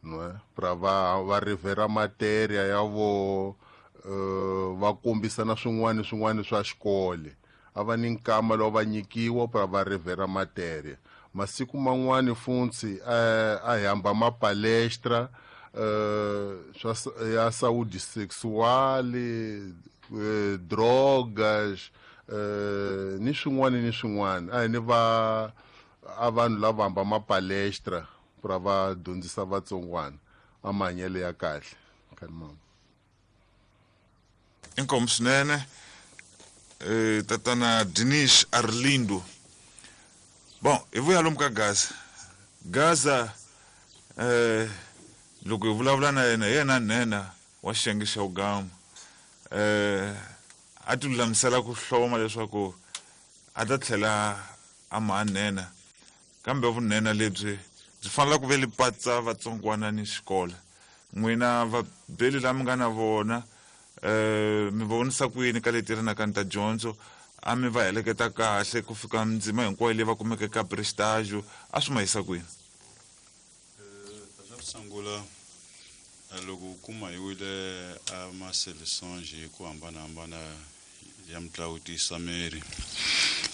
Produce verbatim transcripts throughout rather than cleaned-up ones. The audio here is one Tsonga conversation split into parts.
no pra va va revera materia ya vo uh, va kombisana swin'wana swin'wana swa xikolo a va ni nkama lowu va nyikiwa pra va revera materia masiku man'wani funtsi a hi hamba ma palestra uh, swa ya saúde sexual uh, drogas uh, ni swin'wana ni swin'wana a hi ni va a vanhu lava hamba ma palestra pra va dyondzisa vatsongwana a mahanyelo ya kahle khalimama. Inkomu swinene eh tatana Dinis Arlindo. Bon, hi vuya lomu ka Gaza. Gaza eh loko hi vulavula na yena hi yena nhenha wa xiyenge xa Ugama eh a ti lulamisela ku hloma leswaku a ta tlhela a ma nhenha kambe vunhenha lebyi byi fanele ku ve li patsa vatsongwana ni xikolo. N'wina vabeli lama nga na vona eh mi vonisa ku yini ka leti ri na ka ta dyondzo a mi va heleketa kahle ku fika ndzima hinkwayo leyi va kumeke ka prestage a swi ma yisa kwini? Eh xa ku sungula loko u kuma hi wile a ma-seleções hi ku hambanahambana ya mitlangu tiyisa miri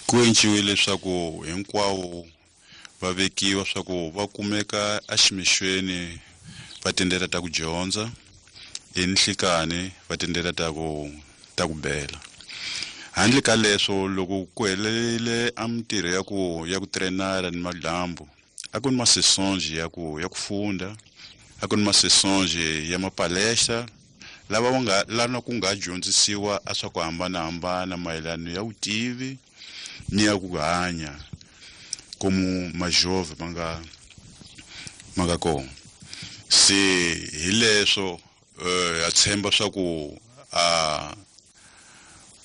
ku enciwile leswaku hinkwawo va vekiwa swa ku va kumeka eximixweni va tindlela ta ku dyondza enhlikani va tindlela ta ku ta ku bela. Handle ka leswo loko ku helele a mintirho ya ku ya ku trainara ni madyambu a ku ni ma-sessões ya ku ya ku funda a ku ni ma-sessões ya mapalestra lava va nga lana ku nga dyondzisiwa a swa ku hambanahambana mayelana ya vutivi ni ya ku hanya como majove ma nga ma nga kona. Se hi leswo eh ha tshemba swa ku a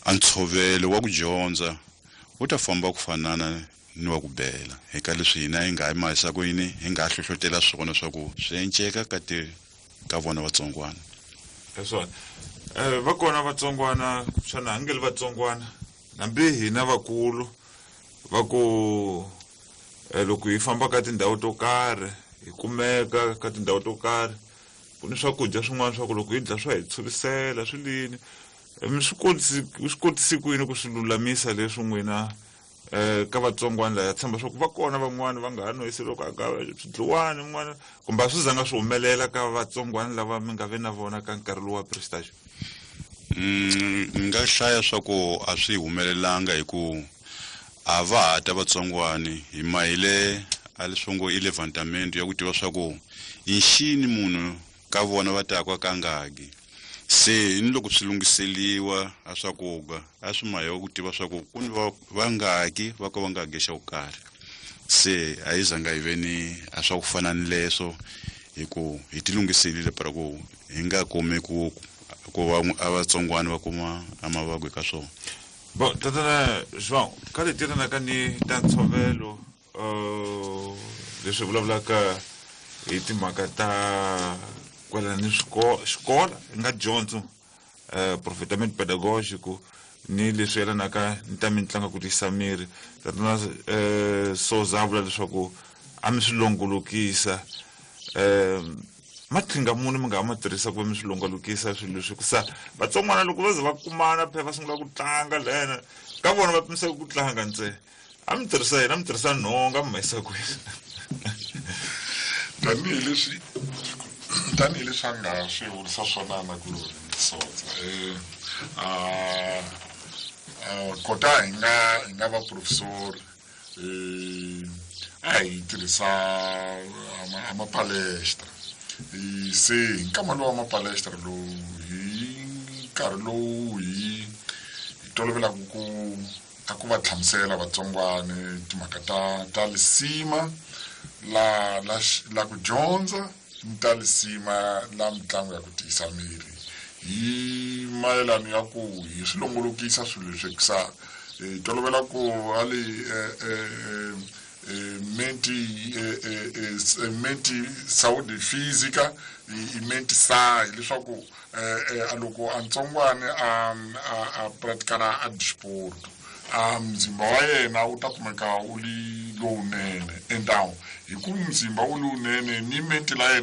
a ntshovelo wa ku dyondza wu ta famba ku fanana ni wa ku bela hi ka leswi hina hi nga hi mahisa ku yini hi nga hlohlotela swona swa ku swi enceka ka ti ka vona vatsongwana. Leswona eh va kona vatsongwana xana a nge li vatsongwana hambi hina vakulu va ku loko hi famba ka tindhawu to karhi hi kumeka ka tindhawu to karhi ku ni swakudya swin'wana swa ku loko hi dya swa hi tshurisela swi lini mi swi kotisi swi kotisi ku yini ku swi lulamisa leswi n'wina eh ka vatsongwana laya tshemba swa ku va kona van'wani va nga ha noyisi loko a ka swidliwani n'wana kumbe a swi zanga swi humelela ka vatsongwana lava mi nga ve na vona ka nkarhi lowu wa prestage? Mm, ni nga hlaya swa ku a swi humelelanga hi ku a va ha ta vatsongwani hi mahile a leswi ngo i levantamento ya ku tiva swa ku i nxini munhu ka vona va taka ka ngaki. Se ni loko swi lunghiseliwa a swakudya a swi mahewa ku tiva swa ku ku ni va vangaki va ka va nga ge xa ku karhi. Se a yi zanga hi ve ni a swa ku fana ni leswo hi ku hi ti lunghiselile para ku hi nga kumi ku ku va a vatsongwana va kuma a mavabyi ka swona. Bon, tatana João, ka leti ri na ka ni ta ntshovelo uh leswi vulavulaka hi timhaka ta kwalano ni xikolo hi nga dyondzo eh profetamento pedagógico ni leswi yelanaka ni ta mitlangu ku tiyisa miri. Tatana eh Souza a vula leswaku a mi swi longolokisa eh maqhinga muni mi nga ma tirhisa ku va mi swi longolokisa swilo leswi ku sa vatsongwana loko va ze va kumana phela va sungula ku tlanga lena ka vona va pimisaka ku tlanga ntsena a mi tirhisa yena a mi tirhisa nhonga mi ma yisa kwini? Tanihileswi tanihileswi a nga swi vurisa swona na ku Sotsa eh a kota hi nga hi nga va professor eh a hi tirhisa a mapalestra se hi nkama lowu wa mapalestra lowu hi nkarhi lowu hi hi tolovelaka ku a ku va hlamusela vatsongwana timhaka ta ta lisima la la la ku dyondza ni ta lisima la mitlangu ya ku tiyisa miri hi mayelana ya ku hi swi longolokisa swilo leswi sa hi tolovela ku hali menti menti saúde física i menti sa leswaku a loko a ntsongwana a a pratikana a disporto a mzimba wa yena wu ta kumeka wu li lowunene endawo hi ku mzimba wu lowunene ni menti la yena